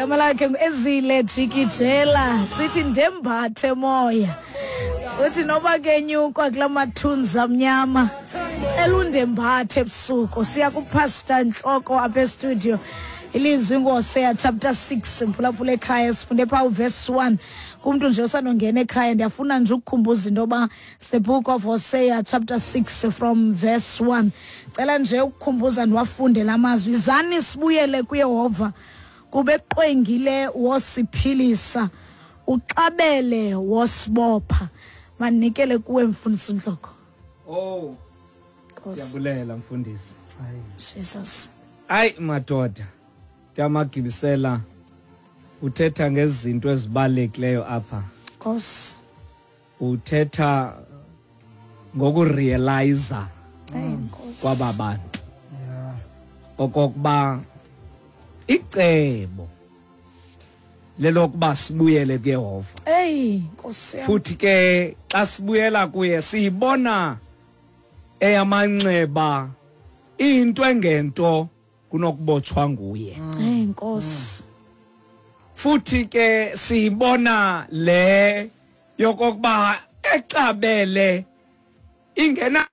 Igama lakhe nguEzile Jikijela, sithi ndembathe moya. Uthi noba kenyukwa kula mathunzi amnyama, cela undembathe ebusuku. Siya kuPastor Ntloko apha estudio. Ilizwi ngoHosea chapter 6, mphulaphula ekhaya, sifunde phaa uverse 1. Kumntu nje osandongena ekhaya, ndiyafuna nje ukukhumbuza into yoba it's the book of Hosea chapter 6 from verse 1. Cela nje ukukhumbuza ndiwafunde la mazwi. Izani sibuyele kuYehova, kuba eqwengile wosiphilisa, uxabele wosibopha. Mandinikele kuwe mfundisi Ntloko. Oh, siyabulela mfundisi. Jesus. Hayi madoda, Tamagibisela uthetha ngezinto ezibalulekileyo apha. Nkosi. Uthetha ngokurealiza kwaba bantu okokuba icebo lelokuba sibuyele kuYehova. Ey, Nkosi yam. Futhi ke xa sibuyela kuye siyibona eyamanxeba into engento kunokubotshwa nguye. Ey, Nkosi. Futhi ke siyibona le yokokuba exabele ingena.